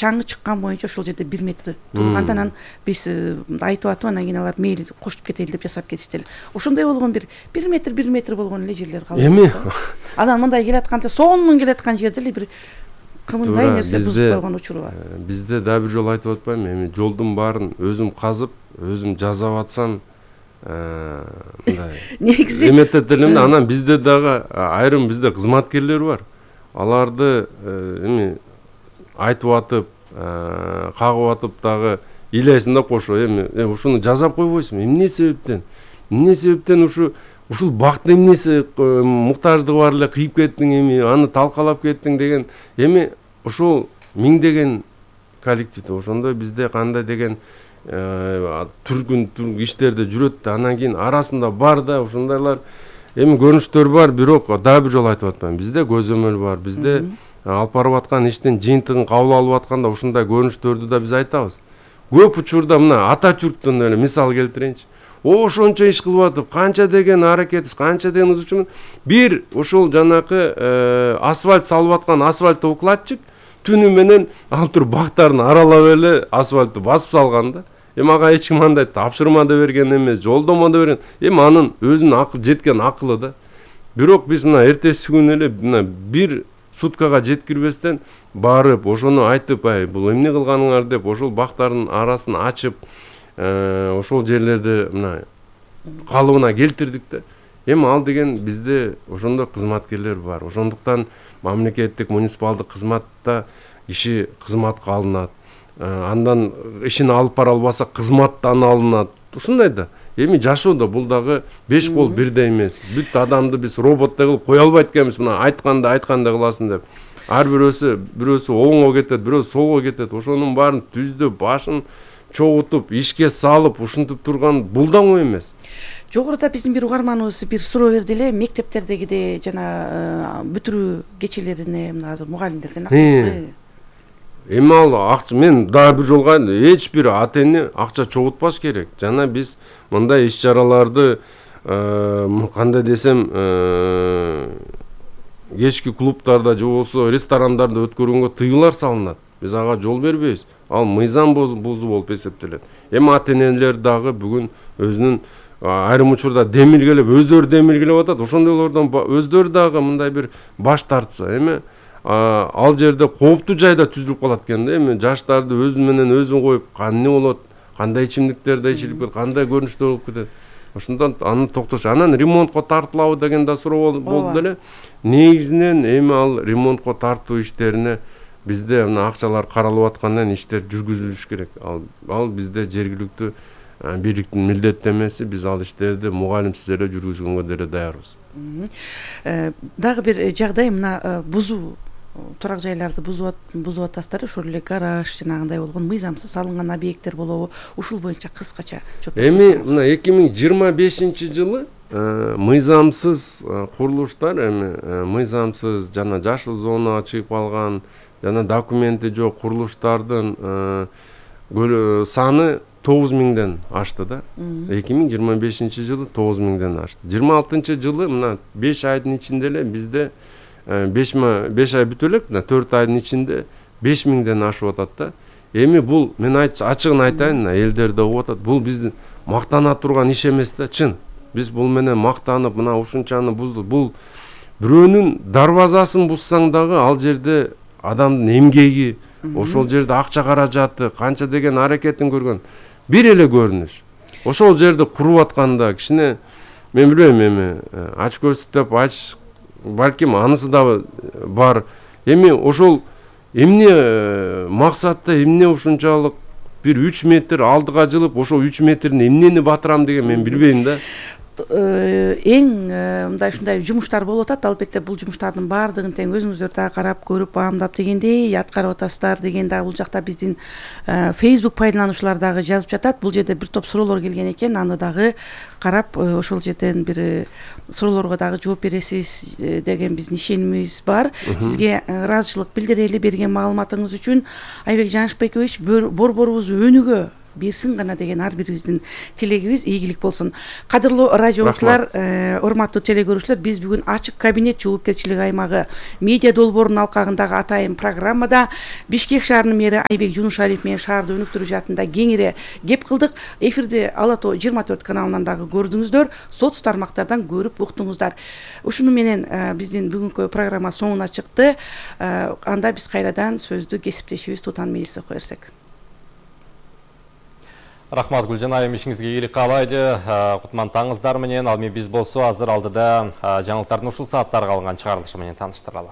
чаңгы чыккан боюнча ошол жерде 1 метр турганда анан биз айтып атып анан кийин алар мейли кошуп кетели деп жасап кетишти эле. Ошондой болгон 1 метр болгон эле жерлер калды. Эми анан мындай келатканда сонун келаткан жерде эле бир кымындай нерсе бузуп койгон учуру бар. Бизде дагы бир жолу айтып атпаймынбы, эми жолдун баарын өзүм казып, өзүм жасап атсам мындай негизи эметет элем да. Анан бизде дагы айрым бизде кызматкерлер бар. Аларды эми айтып атып, кагып атып дагы илесин да кошо. Эми ушуну жасап койбойсуңбу? Эмне себептен ушул бакты эмнеси муктаждыгы бар эле кыйып кеттиң, эми аны талкалап кеттиң деген. Эми ушул миңдеген коллектив ошондой бизде кандай деген түргүн иштерде жүрөт да, анан кийин арасында бар да ушундайлар эми көрүнүштөр бар. Бирок дагы бир жолу айтып атпаймынбы, бизде көзөмөл бар. Бизде алып барып аткан иштин жыйынтыгын кабыл алып атканда ушундай көрүнүштөрдү да биз айтабыз. Көп учурда мына Ататүрктөн эле мисал келтирейинчи. Ошончо иш кылып атып, канча деген аракетибиз, канча деген ызычумун. Бир ошол жанакы асфальт салып аткан асфальт укладчик түнү менен алып туруп бактарын аралап эле асфальтты басып салган да. Эми ага эч ким андай тапшырма да берген эмес, жолдомо да берген. Эми анын өзүнүн жеткен акылы да. Бирок биз мына эртеси күнү эле мына бир суткага жеткирбестен барып, ошону айтып, бул эмне кылганыңар деп, ошол бактардын арасын ачып, ошол жерлерди мына калыбына келтирдик да. Эми ал деген бизде ошондой кызматкерлер бар. Ошондуктан мамлекеттик муниципалдык кызматта киши кызматка алынат. Андан ишин алып бара албаса кызматтан алынат. Ушундай да. Эми жашоодо бул дагы 5 кол бирдей эмес. Бүт адамды биз роботтой кылып кое албайт экенбиз. Мына айткандай кыласың деп. Ар бирөөсү оңго кетет, бирөөсү солго кетет. Ошонун баарын түздүп, башын чогутуп, ишке салып, ушинтип турган бул да оңой эмес. Жогоруда биздин бир угарманыбыз бир суроо берди эле, мектептердегидей жана бүтүрүү кечелерине мына азыр мугалимдерден акча. Эми ал акча, мен дагы бир жолго эч бир ата эне акча чогултпаш керек. Жана биз мындай иш чараларды кандай десем, кечки клубтарда же болбосо ресторандарда өткөргөнгө тыюулар салынат. Биз ага жол бербейбиз. Ал мыйзам бузуу болуп эсептелет. Эми ата энелер дагы бүгүн өзүнүн айрым учурда өздөрү демилгелеп атат. Ошондойлордон өздөрү дагы мындай бир баш тартса, эми ал жерде кооптуу жайда түзүлүп калат экен да. Эми жаштарды өзү менен өзү коюп, эмне болот, кандай ичимдиктерди ичилип кетет, кандай көрүнүштөр болуп кетет. Ошондон аны токтош. Анан ремонтко тартылабы деген да суроо болду эле. Негизинен эми ал ремонтко тартуу иштерине бизде мына акчалар каралып аткандан иштер жүргүзүлүш керек. Ал бизде жергиликтүү бийликтин милдеттенмеси. Биз ал иштерди мугалимсиз эле жүргүзгөнгө деле даярбыз. Дагы бир жагдай мына бузуу, турак жайларды бузуп атасыздар. Ошол эле гараж жанагындай болгон мыйзамсыз салынган объекттер болобу? Ушул боюнча кыскача жооп бериңиз. Эми мына 2025-жылы мыйзамсыз курулуштар, эми мыйзамсыз жана жашыл зонага чыгып калган жана документи жок курулуштардын саны 9000ден ашты да. 2025-жылы 9000ден ашты. 26-жылы мына 5 айдын ичинде эле бизде 5 ай бүтө элек, 4 айдын ичинде 5000ден ашып атат да. Эми бул мен ачыгын айтайын, элдерде угуп атат. Бул биздин мактана турган иш эмес да, чын. Биз бул менен мактанып, мына ушунчаны буздук. Бул бирөөнүн дарбазасын бузсаң дагы ал жерде адамдын эмгеги, ошол жерде акча каражаты, канча деген аракетин көргөн бир эле көрүнүш. Ошол жерде куруп атканда кичине мен билбейм, эми ачкөздүк деп балким анысы да бар. Эми ошол эмне максатта, эмне ушунчалык бир 3 метр алдыга жылып, ошол 3 метрдин эмнени батырам деген мен билбейм да. Эң мындай ушундай жумуштар болуп атат. Албетте бул жумуштардын баардыгын тең өзүңүздөр да карап көрүп, баамдап дегендей аткарып атасыздар деген дагы бул жакта биздин Facebook пайдалануучулар дагы жазып жатат. Бул жерде бир топ суроолор келген экен. Аны дагы карап, ошол жерден бир суроолорго дагы жооп бересиз деген биздин ишенимибиз бар. Сизге ыраазычылык билдирели берген маалыматыңыз үчүн. Айбек Жанышбекович, борборубуз өнүгө берсин гана деген ар бирибиздин тилегибиз ийгилик болсун. Кадырлуу радио угуучулар, урматтуу теле көрүүчүлөр, биз бүгүн ачык кабинет жоопкерчилик аймагы медиа долбоорунун алкагындагы атайын программада Бишкек шаарынын мэри Айбек Жунушалиев менен шаарды өнүктүрүү жаатында кеңири кеп кылдык. Эфирди Ала Тоо 24 каналынан дагы көрдүңүздөр, соц тармактардан көрүп уктуңуздар. Ушуну менен биздин бүгүнкү программа соңуна чыкты. Анда биз кайрадан сөздү кесиптешибиз Тутан Мелисовго берсек. Рахмат Гүлжан айым, ишиңизге ийгилик каалайды. Кутман таңыздар менен, ал эми биз болсо азыр алдыда жаңылыктардын ушул сааттарга алынган чыгарылышы менен тааныштыралы.